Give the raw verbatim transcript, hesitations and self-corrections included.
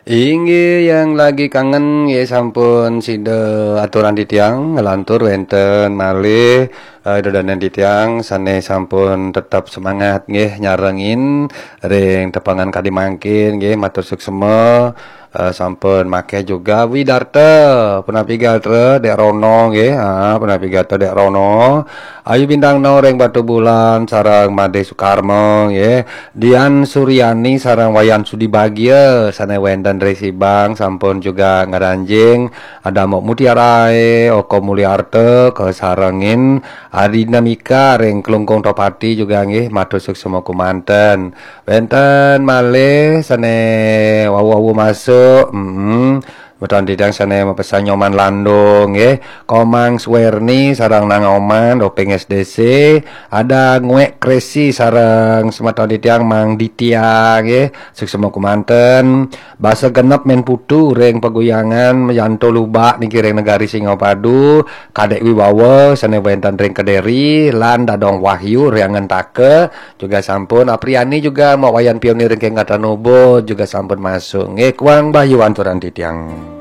Inggih, yang lagi kangen nggih sampun sida aturan titiang, nglantur wenten malih eh, dedanen titiang sane sampun tetep semangat nggih nyarengin ring tepengan kadi mangkin nggih, matur suksema. Eh, sampun makeh juga Widarta, punapi gatra Dek Rono nggih, ah, punapi gatra Dek Rono. Ayu Bintang No ring Batu Bulan sareng Made Sukarma nggih. Dian Suryani sareng Wayan Sudi Bagia sane wenten ring Sibang sampun juga ngaranjing. Ada Mok Mutiarae, Oko Mulyarta, kasarengin Adinamika ring Klungkung Topati juga nggih, matur suksema kumanten. Wenten malih sane wau-wau masuk, mm, Beton titiang sane mapesan Nyoman Landung nggih, Komang Swerni sareng Nang Oman, Openg S D C, ada Nguek Kresi sareng semeton titiang Mang Ditya nggih, suksema kumanten. Basa genep Men Putu ring Paguyangan, Yanto Lubak niki ring Negari Singapadu, Kadek Wibawa sane wenten ring Kediri, lan Dadong Wahyu ring Angentaka, juga sampun. Apriani juga Mak Wayan Pionir ring Kengkatan Ubud juga sampun masuk. Nggih, Kuang Bayu anturan titiang.